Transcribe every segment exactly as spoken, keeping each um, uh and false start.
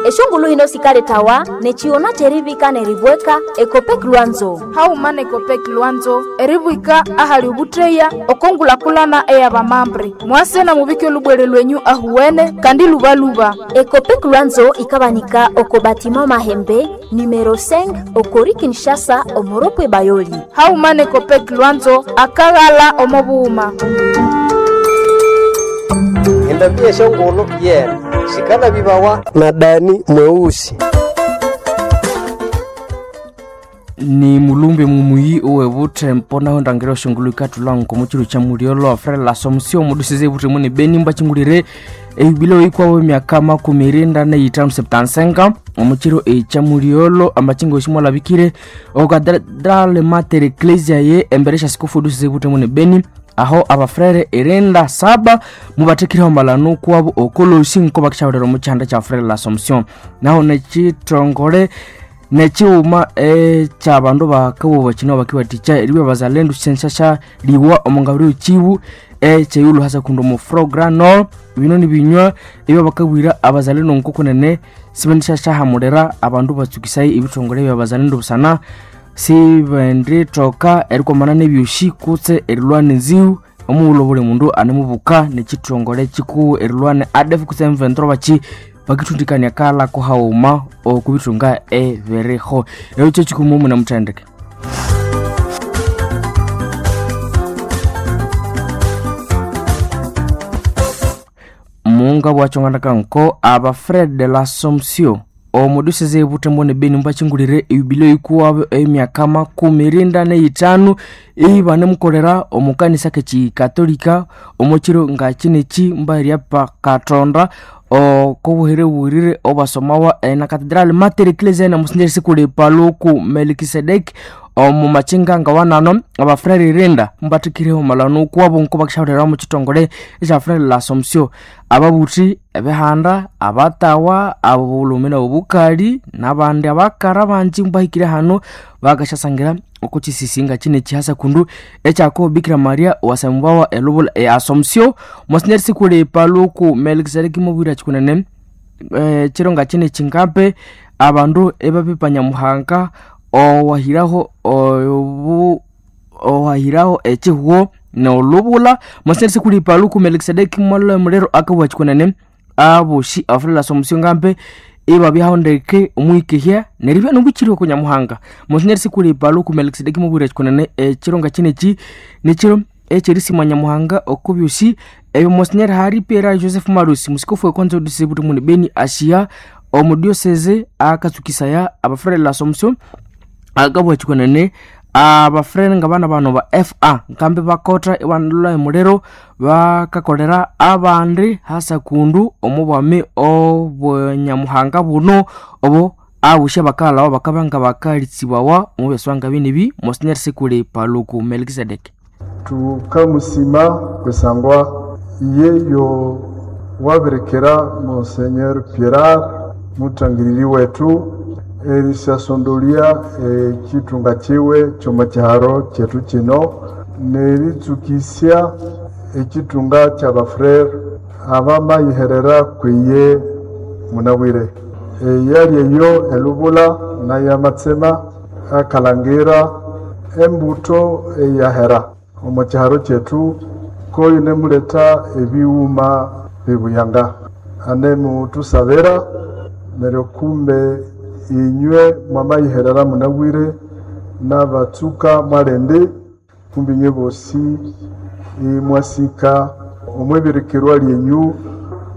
Eshongulu hino sikaletawa nechiona cherivika neribweka Ekopek Lwanzo. Hauma na Ekopek Lwanzo eribwika ahali ubutreya okongulakulana eyabamambre. Mwase na mubike olubwere lwenyu ahuwene kandi lubaluba. Ekopek Lwanzo ikabanika oko batima Mahembe numero cinq okori Kinshasa omoropwe Bayoli. Hauma na Ekopek Lwanzo akaghala omobuuma. Endambia shongolo yena shikala bibawa na Dani mweusi. Ni mulumbe mumuyi owe butempo naho ndangira oshongolo ikatulwa nko muchiro cha muliolo Frere l'Assomption mudusize butemu ni Beni mbachingulire eyubilo ikwawo emyaka makumi irinda neitano septansenga omuchiro echa muliolo amachingo oshimwalabikire okadrale mater ecclesia ye emberesha sikufu dusize butemu ni Beni aho abafrere irinda saba mubathekireho malano kwabo okolosi nko bakishaulira omuchihanda cha Frere l'Assomption. Naho nechitongole nechiuma ekyabandu bakabuba kino bakiwathikya eribya bazalendu syensyasya liwa omongabiri chibu ekyeyulu hasa kundi omu frogranol bino nibinywa ebyo bakabwira abazalendo nkokunene sibendisyasyahimulira abandu batsukisai ebithongole bya bazalendo busana sibendithoka erikwamana nebyosi kutse erilwana enziu omughulhu obuli mundu anemubuka nekithongole kikuwu erilwana A D F kutse M twenty-three baki bakithundikania kala kuhaghuma okubithunga ebiriho. Ekyo kikumu munamuthendeke. Munga bwachongana nko aba Fred de l'Assomption omuduseze butembo ne Beni mbachingulire eyubilo ikuwabo emyaka makumi irinda neitano ibanemukolera omukanisa kechikatolika omukiro nga kineki mbairya pa Katonda okobuhere burire obasomawa na Cathedral Mater Ecclesiae na musinjeri sikuli paluku Melkisedek omu machinga nga wanano abafrere irinda mbathikireho malano kwabo nko bakishaulira mu chitongole ekya Frere l'Assomption ababuthi ebihanda abatawa abulumi nobukali nabandi abakara banji mbahikire hano bakashasangira okukisisinga kine kihasa kundu ekyako Bikira Maria wasambawa elubula e Assomption musinjeri sikuli paluku Melkisedek mubwira chikunene e, chironga kine chingape abandu ebapipanya muhanga owahiraho obu owahiraho ekihwo nolubula musinjeri sikuli paluku Melkisedek mwalula mulero akabwa chikunene aboshi Frere l'Assomption ngampe ibabyaho ndeke omwikihya neribya nobuchiri okunyamuhanga musinjeri sikuli paluku Melkisedek mubwira chikunene echironga kineki nikiro ekyerisimwa nyamuhanga okubyosi ebyo monsinyeri Hari Pierre Joseph Marusi musikofu wekonzo disibuti muni Beni Asia omudioseze akatsukisaya abafrere l'Assomption akabwa chikunene abafrere nga bana bano ba F A nkambi bakota ibanalula emuliro bakakolera abandi hasa kundu omubwami obwenyamuhanga buno obo abusha bakalawa bakabanga bakalitsibawa omubyaswanga binibi monsinyeri sikuli paluku Melkisedek. Tukamusima kusangwa iyeyo waberekera Monseigneur Pierre mutangiriri wetu erisasondolia ekitunga kiwe kyoma kyaro kyetu kino neritsukisya ekitunga kyabafrere abamayiherera kwiye munabwire eyali eyo elubula nayamatsema akalangira embuto eyahera omu kyaro kyetu koyo nemuleta ebiwuma bibuyanga anemutusabira neryo kumbe inywe mwamayiherera munabwire n'abatsuka mwalende kumbe inywe bosi imwasika omwibirikirwa lyenyu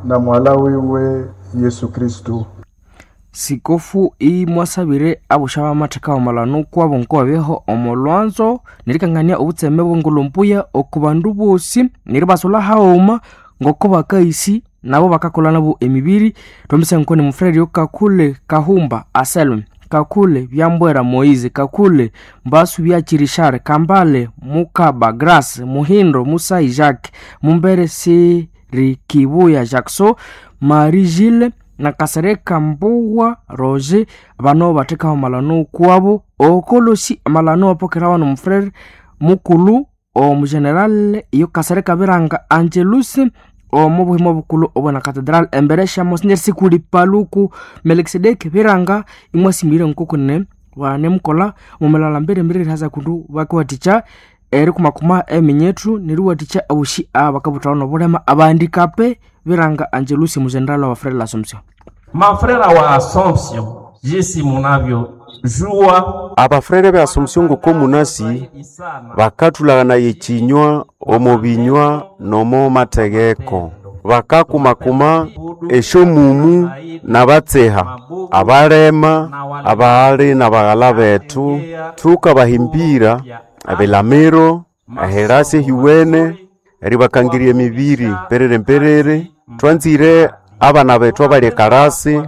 na mwala wiwe Yesu Kristu. Sikofu imwasabire abusha bamatheka omalano kwabo nkobabeho omolwanzo nerikangania obutseme bwengulumbuya oku bandu bosi neribasola haghuma ngoko bakaisi nabo bakakola nabo emibiri. Twambisa nkoni mufrere Kakule Kahumba Aselme Kakule Byambwera Moize Kakule Mbasu Byachirishare Kambale Mukaba Grace Muhindo Musa Jacques Mumbere Sirikibuya Jackson Marie Gilles na Kasereka Mbuwa Roger bano bathekaho malano kwabo okolosi malano apokerawa nomufrere mukulu omugeneral iyo Kasereka Biranga Angelus omu buhimo bukulu obwana katedral embere sya Monsignor Sikuli Paluku Melkisedeki Biranga imwasimire nkokunene banemukola mumalala mbere mbere haza kundu bakiwathikya erikumakuma eminyethu neriwathikya abosi abakabuthawa nobulema abandikape Biranga Angelusi muzenerali wa Frere l'Assomption. Mafrera wa Assomption, jinsi munavyojua, Abafrere be Assomption ngoko munasi bakathulagana ekinywa omo binywa nomo mategeko bakakumakuma esyomumu nabatseha abalema abaghali nabaghala bethu thukabahimbira ebilamiro ehirasi ehiwene eribakangirya emibiri mperere mperere twanzire abana bethu abali ekarasi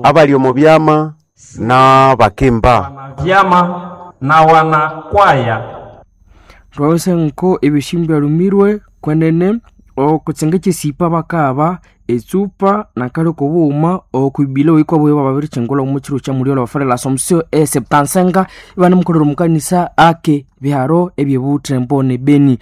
abali omo byama n'abakimba vyama na wanakwaya. Twawese nko ebishimbu byalumirwe kwenene okutsenga ekyesipa bakaba etsupa nakali okubughuma okwibila oikwa bwewa babirikyingulha omu kiro kya mulyola wa Frere l'Assomption e septansenga ibanemukolera omukanisa ake biharo ebyebuthembo ne Beni.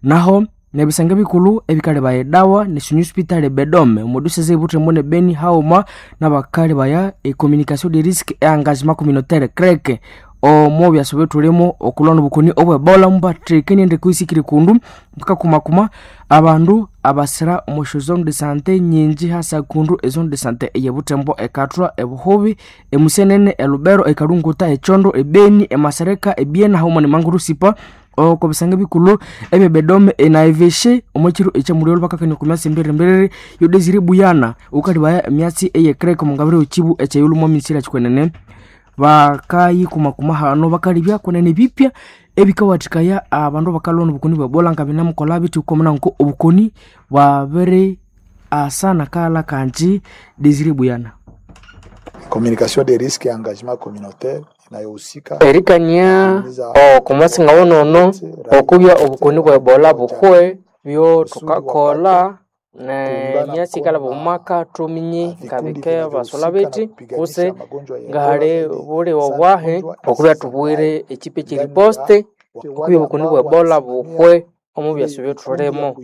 Naho nebisenge bikulhu ebikalebaya edawa neshinyu hospital ebedome omudusese ebuthembo ne Beni haghuma nabakalebaya e communication de risque e engagement communautaire C R E C omo byasa byethulimu okulwa nobukoni obwebola mubathekenie endeko isikire kundu bukakumakuma abandu abasira omo zone de sante nyingi hasa kundu ezone de sante eyebuthembo ekathwa ebuhubi emusenene elubero ekalunguta echondo ebeni emasereka ebiena haghuma nemangurusipa oko bisenge bikulhu ebyebedome enaiveshe omwekiro ekyamulyolho bakakania oku myatsi emberemberere yodesire buyana ukalibaya emyatsi eyekrek omungabiro ekibu ekyeyilhu mwamisira kikwenene bakayikumakuma hano bakalibya kunene bipya ebikawathikaya abandu bakalwa nobukoni bwebola nga binamukola bithi ukomuna nko obukoni bwabiri asa nakala kanji Desire Buyana. Communication des risques et engagement communautaire inayohusika erikania okumwasi ngawonono okubya obukoni bwa ebola buhwe byo thukakolha nemyatsi ikalaba omumaka thuminye ngabike basolha bethi kutse ngahali buliwe bwahi okubya thubwire ekipa ekyeriposte okubya obukoni bwa ebola buhwe omu byasi byethulimu.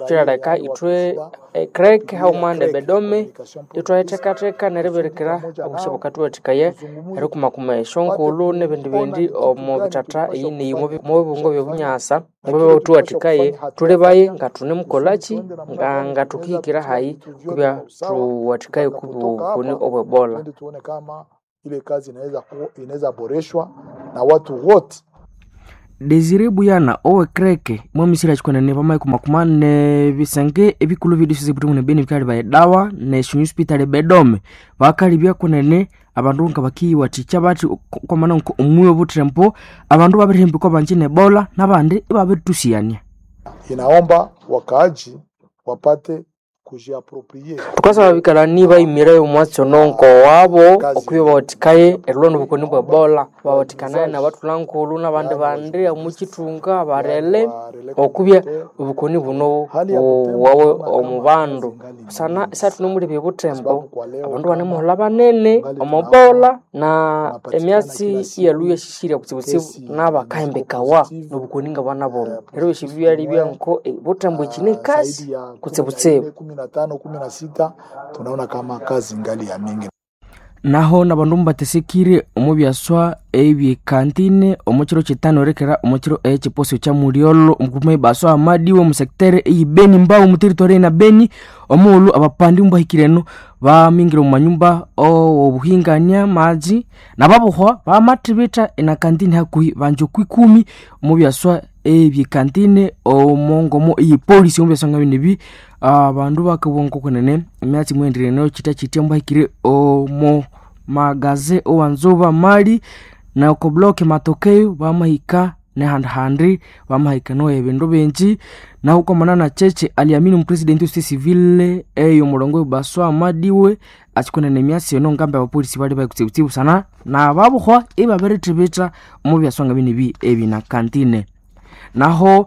Kyiraleka ithwe ecrek haghuma nebedome ithwayithekatheka neribirikira obusi bukathuwathikaya erikumakuma esyonkulhu nebindi bindi omu bithatha eyi neyi omu bibungo byobunyasa ngobuthuwathikaye thulibaye ngathunemukolhaki nga ngathukihikira hayi kubya thuwathikaye kubya obukoni obwebola. Twende tuone kama ile kazi inaweza ku- inaweza boreshwa na watu wote. Desire Buyana owe kreke mwamisira chikwenene pamaikumakuma nebisenge ebikulhu byedisese buthembo ne Beni bikalibaya edawa neshinyu hospital ebedome bakalibya kunene abandu nga bakiyiwathikya bathi kwamana nko omuyi obuthembo abandu babirihambikwa banji nebola nabandi ibabiritusiyania. Inaomba wakaaji wapate kujiaproprie Thukasaba abikalani bayimire omwatsi ono nkowabo okubya bawathikaye erilwa nobukoni bwa ebola bawathikanaye nabathulhankulhu nabandi bandi omukyithunga abarele okubya obukoni buno buwawe omu bandu busana isathunemulebya obuthembo abandu banemuholha banene omobola na emyatsi iyaluya sisirya kutsibutsibu nabakahembekawa nobukoni ngabana buno neryo ebyosi byalibya nko obuthembo ekine kasi kutsibutsibu. kumi na tano kumi na sita tunaona kama kazi ngali ya mingi. Naho nabandu mubatesekire omu byaswa ebyekantine omu kiro kitano erekera omu kiro ekyiposo kya mulyolho omukuma ibaswa amadiwe omu sectere eyibeni mbao omu territory na Beni omughulhu abapandi mubahikire eno bamingire omu manyumba obuhingania maji nababuhwa bamathibitha enakantine hakuhi banji okwikumi omu byaswa ebyekantine omongomo eyepolisi omu byaswa nga bino ebi abandu bakabugha nkokunene emyatsi mwendirene kitya kitya mubahikire omo magaze owanzuba mali na oko block matokeo bamahika nehandihandi bamahika noya ebindu bingi nahu kwamana na cheche aliamini omupresidenti wesite civile eyo omulongo baswa amadiwe achikunene emyatsi eno ngambi abapolisi bali baikutsibutsibu sana nababuhwa ibabirithibitha omu byaswa nga bino ebi ebinakantine. Naho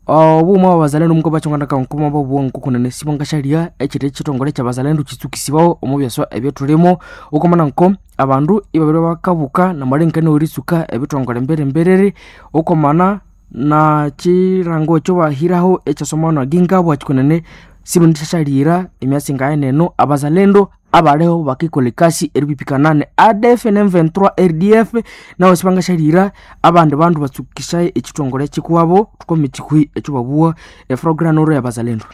obughuma bwabazalendo muko bachongana nkuma bobuwa nkokunene sibo ngashalya ekiri ekitongole kyabazalendo kitsukisibawo omu byaswa ebyethulimu okomana nko abandu ibabiri bakabuka namalengekania eritsuka ebitongole emberemberere okomana na kirango ekyo bahiraho ekyasomana gingabwa kikunene sibendishashalira emyatsi ngaye neno abazalendo abaliho bakikolha ekasi eripipikana ne A D F ne M vingt-trois R D F nabo sibangashalira abandi bandu batsukishaye ekithongole kikuwabo tukome ekihwi ekyo babuwa efrogranoro y'abazalendo.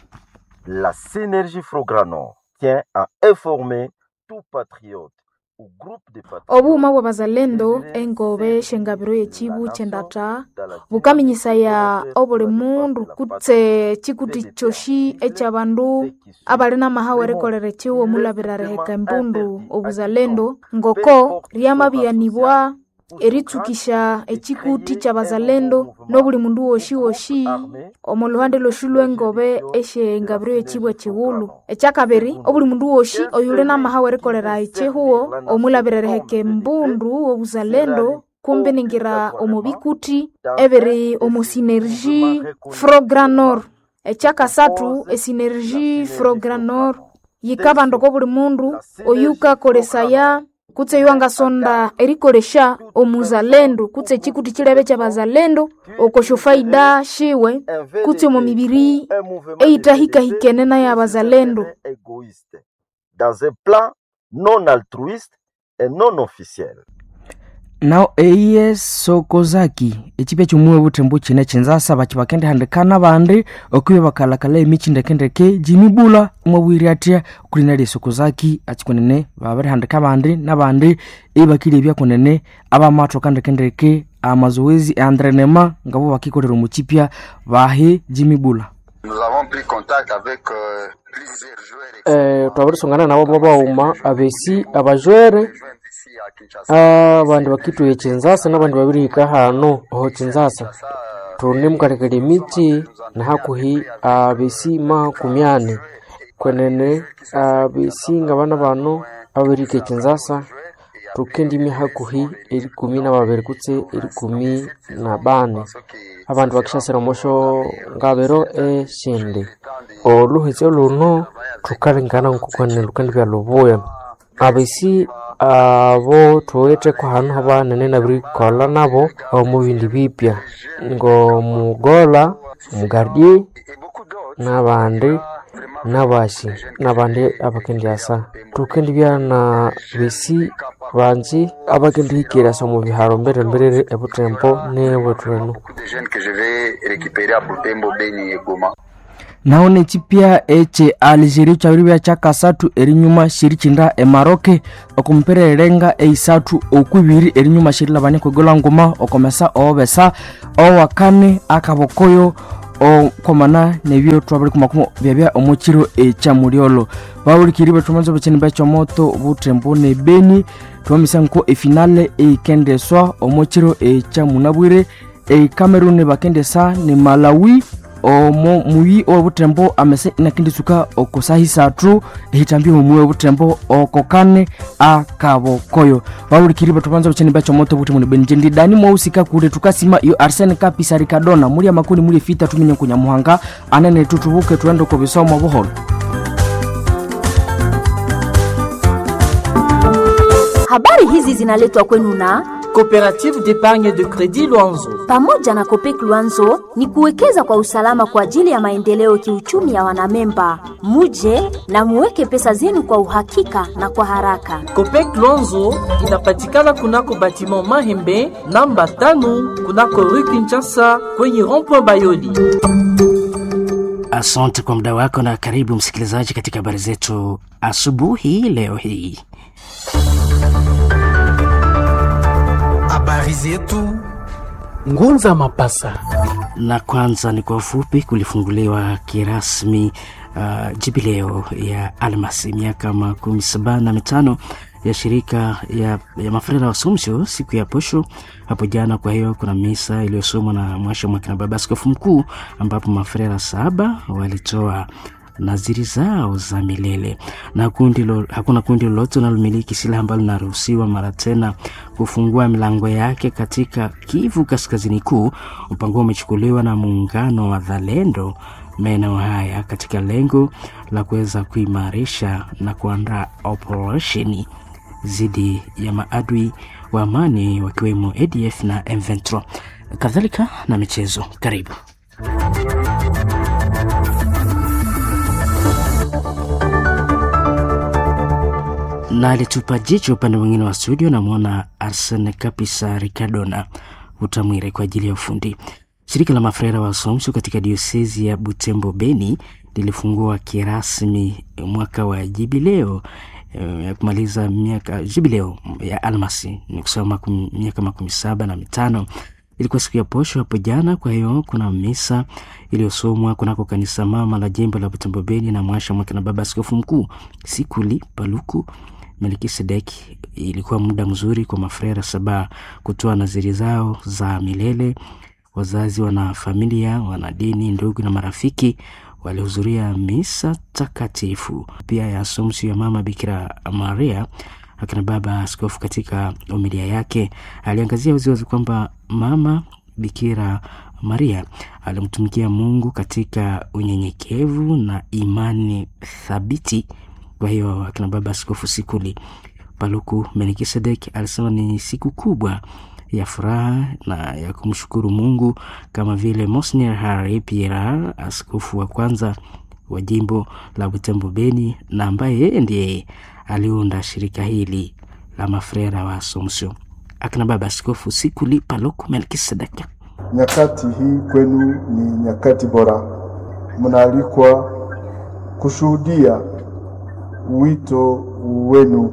La synergie Frogranor tient à informer tout patriote ou groupe de patriotes Obughuma bw'abazalendo engobe syengabiro y'ekibu ky'endatha bukaminyisaya obuli mundu kutse kikuti kyosi eky'abandu abali n'amahawa erikolera ekihugo omulabira riheka embundu obuzalendo ngoko ryamabyanibwa eritsukisha ekikuti ky'abazalendo n'obuli mundu wosi wosi omo luhande lwosi lw'engobe esyengabiro y'ekibu ekighulhu. Ekyakabiri, obuli mundu wosi oyuli n'amahawa erikolera ekihugo omulabira eriheka embundu obuzalendo kumbi ningira omo bikuti ebiri omo synergie Frogranor. Ekyakasathu, esynergie Frogranor yikabanda oko buli mundu oyukakolesaya kutse eyangasonda erikolesya omuzalendo kutse ekikuti kilebe ky'abazalendo oko syofaida shiwe kutse omo mibiri eyithahikahikene n'eyabazalendo. Égoïste dans un plan non altruiste et non officiel. Nao eye Sokozaki ekipya ky'omuwe buthembu kine kinzasa baki bakendihandikana abandi okubya bakalakala emikyi ndekendeke Jimmy Bula mwabwire atya okulina lya Sokozaki akikunene babirihandika abandi n'abandi ibakilebya kunene abamathoka ndekendeke amazoezi entraînement ngabo bakikolera omu kipya bahi Jimmy Bula. Nous avons pris contact avec euh, plusieurs joueurs Eh, twabirisungana nabo babaghuma abesi abajwere abandi bakithuya ekinzasa n'abandi babirihika hano oho kinzasa thunemukalekela emikyi nahakuhi abesi makumi ani kwenene abesi ngabana bano ababirihika ekinzasa thukendimya hakuhi erikumi na babiri kutse erikumi na bani abandu bakishasira omosho ngabiro eshindi oluhetse luno thukalengana ngokwenene lukendibya lubuya abesi abo thuwitheko hanu habanene nabirikolha nabo omu bindi bipya ngomugola omugardie n'abandi n'abashi n'abandi abakendyasa thukendibya na besi banji abakendihikirasa omu biharo mbere-mberere ebutembo n'ewethu enu. Beaucoup de jeunes que je vais récupérer à Butembo, Beni et Goma. Naho nekipya ekye Algeria kyabiribya kyakasathu erinyuma syerikyinda eMaroc okumupira erenga eisathu okwibiri erinyuma syerilabania kwegolha nguma okomesa owobesa owakane akabokoyo okwamana nebyo twabirikumakuma byabya omukiro ekyamulyolho bahulikiri bethumanza bekyini bekyomoto butembo ne Beni twamisa nko efinale eikendeswa omukiro ekyamunabwire eCameroon bakendesa ne Malawi omo muyi owobutembo amese inakendisuka okosahi isathu ehitambia omuyi owobutembo okokane akabokoyo bahulikiri bethubanza bukyeni bekyomoto buti muni benje ndi dani mwausika kule tukasima iyo Arsene Kapisa Ricardona muli amakuni muli efita tuminye kunyamuhanga anene tutubuke tuende ko bisomo buholo. Habari hizi zinaletwa kwenu na Coopérative d'épargne de crédit Luanzo. Pamoja na Copec Luanzo ni kuwekeza kwa usalama kwa ajili ya maendeleo kiuchumi ya wanamemba. Muje na muweke pesa zenu kwa uhakika na kwa haraka. Copec Luanzo inapatikana kunako batiment Mahembe namba tano kunako Rue Kinshasa kwenye rond-point Bayoli. Asante kwa muda wako na karibu msikilizaji katika habari zetu asubuhi leo hii. Habari zetu Ngunza Mapasa. Na kwanza ni kwa ufupi, kulifunguliwa kirasmi uh, jubileo ya almasi miaka makumi saba na mitano ya shirika ya, ya mafrera wa Assumption siku ya posho hapo jana. Kwa hiyo kuna misa iliyosomwa na mwasha mwakina baba askofu mkuu, ambapo mafrera saba walitoa naziri zao za milele na kundi lo, hakuna kundi lolote linalomiliki silaha ambalo linaruhusiwa mara tena kufungua milango yake katika Kivu Kaskazini Kuu. Mpango umechukuliwa na muungano wa Zalendo maeneo haya katika lengo la kuweza kuimarisha na kuandaa operesheni dhidi ya maadui wa amani wakiwemo A D F na M vingt-trois kadhalika na michezo. Karibu. Na alitupa jicho upande mwingine wa studio, namwona Arsene Kapisa Ricardona Utamwire kwa ajili ya ufundi. Shirika la mafrera wa Assumption katika diosezi ya Butembo Beni lilifungua kirasmi mwaka wa jubileo ya kumaliza miaka jubileo ya almasi ni kusema miaka makumi saba na mitano. Ilikuwa siku ya posho hapo jana. Kwa hiyo kuna misa iliyosomwa kunako kanisa mama la jimbo la Butembo Beni na mwasha mwake na baba askofu mkuu Sikuli Paluku Melkisedeki. Ilikuwa muda mzuri kwa mafrera saba kutoa naziri zao za milele. Wazazi, wana familia, wana dini, ndugu na marafiki walihudhuria misa takatifu pia ya Assumption ya Mama Bikira Maria. Akina baba askofu katika homilia yake aliangazia waziwazi kwamba Mama Bikira Maria alimtumikia Mungu katika unyenyekevu na imani thabiti. Kwa hiyo akina baba askofu Sikuli Paluku Melkisedek alisema ni siku kubwa ya furaha na ya kumshukuru Mungu kama vile Monsignor Harry Pierre, askofu wa kwanza wa jimbo la Butembo Beni na ambaye yeye ndiye aliunda shirika hili la mafrera wa Assumption. Akina baba askofu Sikuli Paluku Melkisedek: nyakati hii kwenu ni nyakati bora, mnaalikwa kushuhudia wito wenu,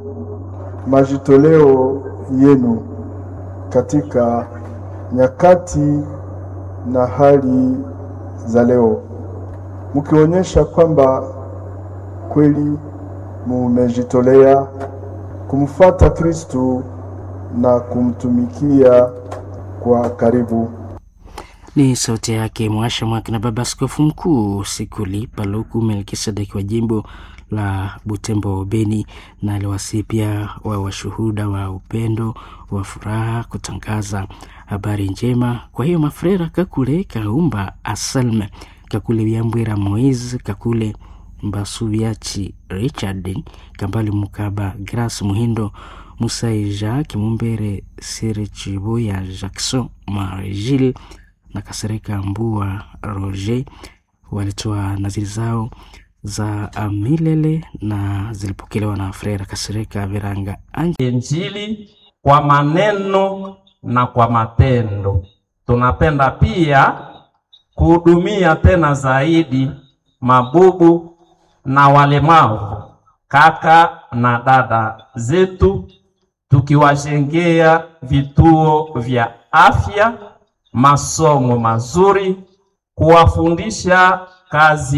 majitoleo yenu katika nyakati na hali za leo, mkionyesha kwamba kweli mumejitolea kumfuata Kristu na kumtumikia kwa karibu. Ni sauti yake mwasha mwake na baba askofu mkuu Sikuli Paluku Melkisedeki wa jimbo la Butembo Beni, na aliwasihi pia wa washuhuda wa upendo wa furaha kutangaza habari njema. Kwa hiyo mafrera Kakule Kaumba Asalme, Kakule Byambwira Moise, Kakule Mbasubiachi Richard, Kambali Mukaba Grace Muhindo, Musai Jacques Mumbere Sirichibuya Jackson Marigil na Kasereka Mbua Roger walitoa naziri zao za milele na zilipokelewa na Frera Kasereka Viranga Anje. Injili kwa maneno na kwa matendo. Tunapenda pia kuhudumia tena zaidi mabubu na walemavu, kaka na dada zetu, tukiwajengea vituo vya afya, masomo mazuri, kuwafundisha kazi